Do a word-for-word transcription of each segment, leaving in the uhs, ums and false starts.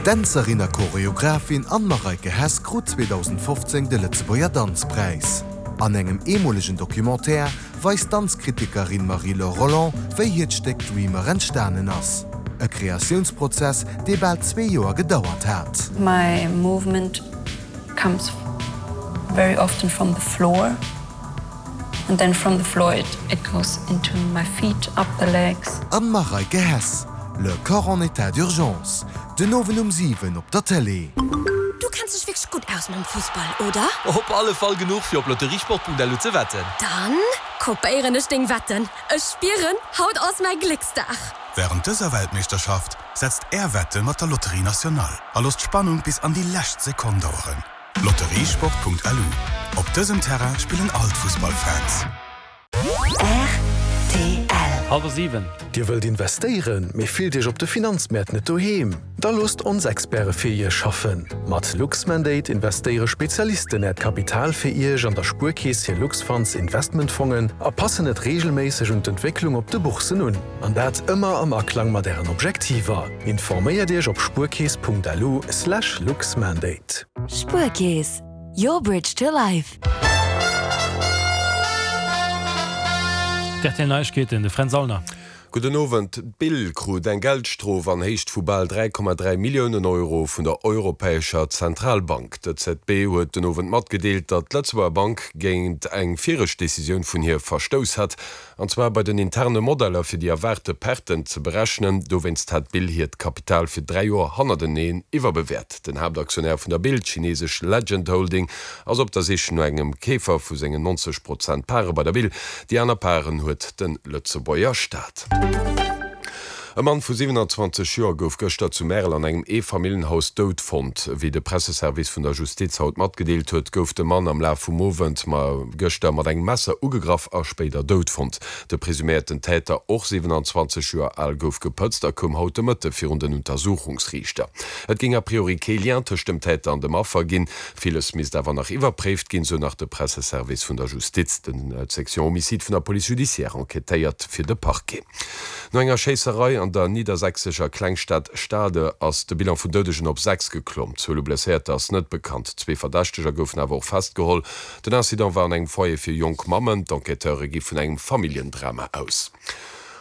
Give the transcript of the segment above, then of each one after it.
D'Dänzerin a Choreographin Anne-Mareike Hess krut zweedausendfofzéng de Lëtzebuerger Danzpräis. An engem eemolegen Documentaire weist d'Danzkritikerin Marie-Laure Rolland, wéi hiert Stéck Dreamer entstanen ass. E Kreatiounsprozess, dee bal zwee Joer gedauert hat. My movement comes very often from the floor and then from the floor it, it goes into my feet, up the legs. Anne-Mareike Hess, Le corps en état d'urgence, den Owend um siwen op der Tëlee. Du kenns dech wierklech gutt aus mam Fussball, oder? Op alle Fall genuch fir op lotteriesport Punkt L U ze wetten. Dann kopéieren ech deng Wetten. Ech spieren, haut ass mäi Glécksdag. Wärend dëser Weltmeeschterschaft setzt Är Wette mat der Loterie Nationale a loosst d'Spannung bis an déi lescht Sekonn daueren. Lotteriesport Punkt L U, Op dësem Terrain spillen all d'Fussballfans. R T L. Hallwer siwen. Dir wëllt investéieren, mee fillt Iech op de Finanzmäert net doheem? Da loosst ons Experte fir Iech schaffen. Mat Luxmandate investéiere Spezialisten Äert Kapital fir Iech an der Spuerkeess hir Luxfunds Investmentfongen a passen et reegelméisseg un d'Entwécklung op de Bourssen un. An dat ëmmer am Aklang mat Ären Objektiver. Informéiert Iech op spuerkeess Punkt L U slash luxmandate. Spuerkeess, your bridge to life. D R T L Neiegkeeten, de Fränz Aulner. Gudden Owend. D'Bill krut eng Geldstrof an Héicht vu bal dräi Komma dräi Milliounen Euro vun der Europäescher Zentralbank. D'E Z B huet den Owend matgedeelt, datt d'Lëtzebuerger Bank géint eng viregt Decisioun vun hir verstouss hätt, an zwar bei den interne Modeller fir déi erwaarte Perten ze berechnen. Dowéinst hätt d'Bill hiert Kapital fir dräi Joer hannerteneen iwwerbewäert. Den Haaptaktionär vun der Bill, d'chinesesch Legend Holding, ass op der Sich no engem Keefer vu sengen neunzeg Prozent Pare bei der Bill. Déi aner Paren huet de Lëtzebuerger Staat. E Mann vu siewenanzwanzeg Joer gouf gëschter zu Märel an engem Eefamilljenhaus dout fonnt. Wéi de Presseservice vun der Justiz haut matgedeelt huet, gouf de Mann am Laf vum Owend gëschter mat engem Messer ugegraff a spéider dout fonnt. De presuméierten Täter, och siewenanzwanzeg Joer al, gouf gepëtzt a koum haut de Mëtte virun den Untersuchungsriichter. Et géing a priori kee Lien tëscht dem Täter an dem Affer ginn, villes misst awer nach iwwerpréift ginn, sou nach de Presseservice vun der Justiz. D'Section Homicide vun der Police judiciaire enquêtéiert fir de Parquet. No enger Schéisserei an der niddersächsescher Klengstad Stade ass de Bilan vun Doudegen op sechs geklomm. D'Zuel u Blesséierter ass net bekannt. Zwee Verdächteger goufen awer och festgeholl. Den Incident war an engem Foyer fir jonk Mammen. D'Enquêteure gi vun engem Familljendrama aus.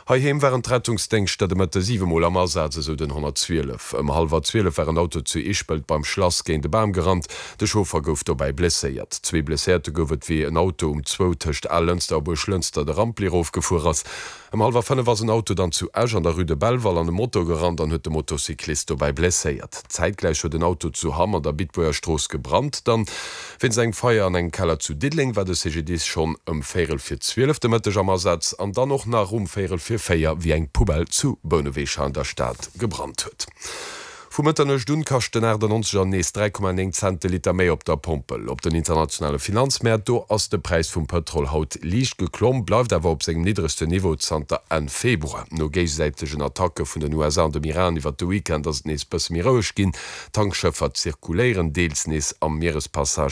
Heiheem waren d'Rettungsdéngschter de Mëtte siwe Mol am Asaz, esou den honnertzwielef. Ëm hallwer zwielef war en Auto zu Ischpelt beim Schlass géint e Bam gerannt. De Chauffer gouf dobäi blesséiert. Zwee Blesséierte gouf et, wéi en Auto um zwou tëscht Allënster a Buerglënster de Rampli erofgefuer ass. Ëm hallwer fënnef ass en Auto dann zu Esch an der Rue de Belval an e Moto gerannt an huet de Motocyclist dobäi blesséiert. Zäitgläich huet en Auto zu Hamm an der Bitbuerger Strooss gebrannt. Dann wéinst engem Feier an engem Keller zu Diddeleng war de C G D I S schonn ëm véierel vir zwielef de Mëtteg am Asaz an dann och nach um véierel vir véier, wéi eng Poubelle zu Bouneweg an der Stad gebrannt huet. Vu Mëtternuecht un kascht den achtannonzeger nees dräi Komma néng Cent de Liter méi op der Pompel. Op den internationale Finanzmäert, do ass de Präis vum Pëtrol haut liicht geklomm, bleift awer op sengem niddregsten Niveau zanter Enn Februar. No géigesäitegen Attacke vun den U S A an dem Iran iwwer de Weekend ass et nees bësse méi roueg ginn. Tankschëffer zirkuléieren deels nees am Mierespassage.